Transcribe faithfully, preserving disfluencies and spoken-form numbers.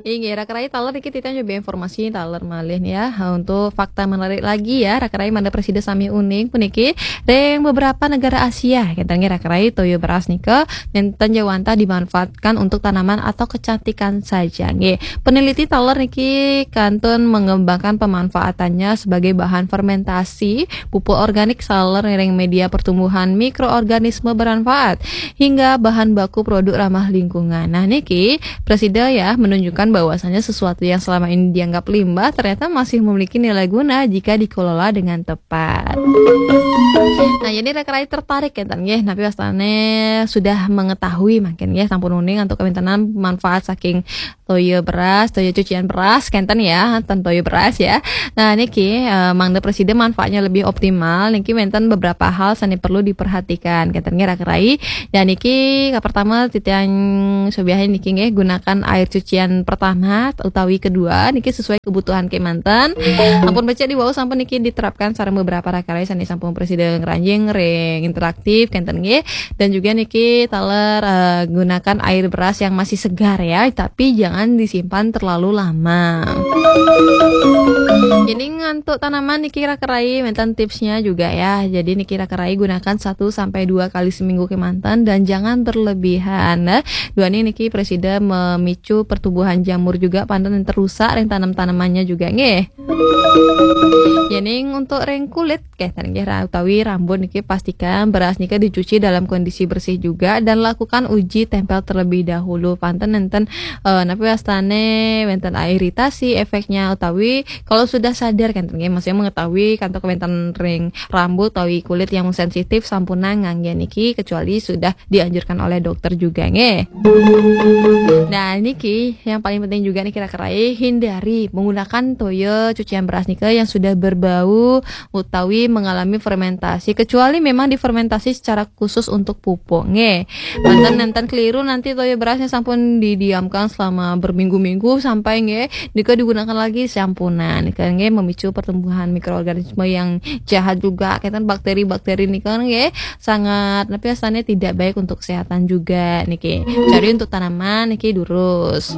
Inggih, raka rai, taler niki titiang nyobi informasi taler malih nih ya. Untuk fakta menarik lagi ya, raka rai, mangda prasida sami uning puniki, ring beberapa negara Asia, kenten nggih raka rai, toya beras nika nenten jawantah dimanfaatkan untuk tanaman atau kecantikan saja nggih. Peneliti taler niki kantun mengembangkan pemanfaatannya sebagai bahan fermentasi pupuk organik saler ring media pertumbuhan mikroorganisme bermanfaat hingga bahan baku produk ramah lingkungan. Nah, niki prasida ya menunjukkan bahwasanya sesuatu yang selama ini dianggap limbah ternyata masih memiliki nilai guna jika dikelola dengan tepat. Nah, jadi raka rai tertarik kenten nggih, napi wastane sudah mengetahui mungkin nggih, sampun uning antuk kawéntenan manfaat saking toya beras, toya cucian beras kenten ya, ten toya beras ya. Nah, niki eh, mangda prasida manfaatnya lebih optimal, niki wénten beberapa hal sane perlu diperhatikan kenten nggih raka rai. Dan niki ka pertama titiang sobiahin niki nggih, gunakan air cucian pertama utawi kedua niki sesuai kebutuhan kemanten. Ampun becik di wau sampun niki diterapkan sareng beberapa raka rai sane sampun prasida ngranjing ring interaktif kenten nggih. Dan juga niki taler eh, gunakan air beras yang masih segar ya, tapi jangan disimpan terlalu lama. Jadi ngantuk tanaman niki raka rai wénten tipsnya juga ya. Jadi niki raka rai gunakan satu sampai dua kali seminggu kemanten dan jangan berlebihan. Nah, dua niki prasida memicu pertumbuhan jamur juga, panten terusak ring tanam-tanamannya juga nggih. Yening untuk ring kulit kenten nggih ra- utawi rambut niki pastikan beras nika dicuci dalam kondisi bersih juga dan lakukan uji tempel terlebih dahulu. Panten nenten eh, napi wastane wénten iritasi efeknya utawi kalau sudah sadar kenten nggih, maksudnya mengetahui kantuk wénten ring rambut utawi kulit yang sensitif sampunang ngangge niki kecuali sudah dianjurkan oleh dokter juga nggih. Nah, niki yang paling penting juga niki raka rai, hindari menggunakan toya cucian beras nika yang sudah berbau utawi mengalami fermentasi kecuali memang difermentasi secara khusus untuk pupuk nggih. Manten nenten keliru nanti toya berasnya sampun didiamkan selama berminggu-minggu sampai nggih nika digunakan lagi sampunang. Nika nggih memicu pertumbuhan mikroorganisme yang jahat juga, kenten bakteri-bakteri nika nggih sangat napi wastane tidak baik untuk kesehatan juga niki. Jadi untuk tanaman niki durus.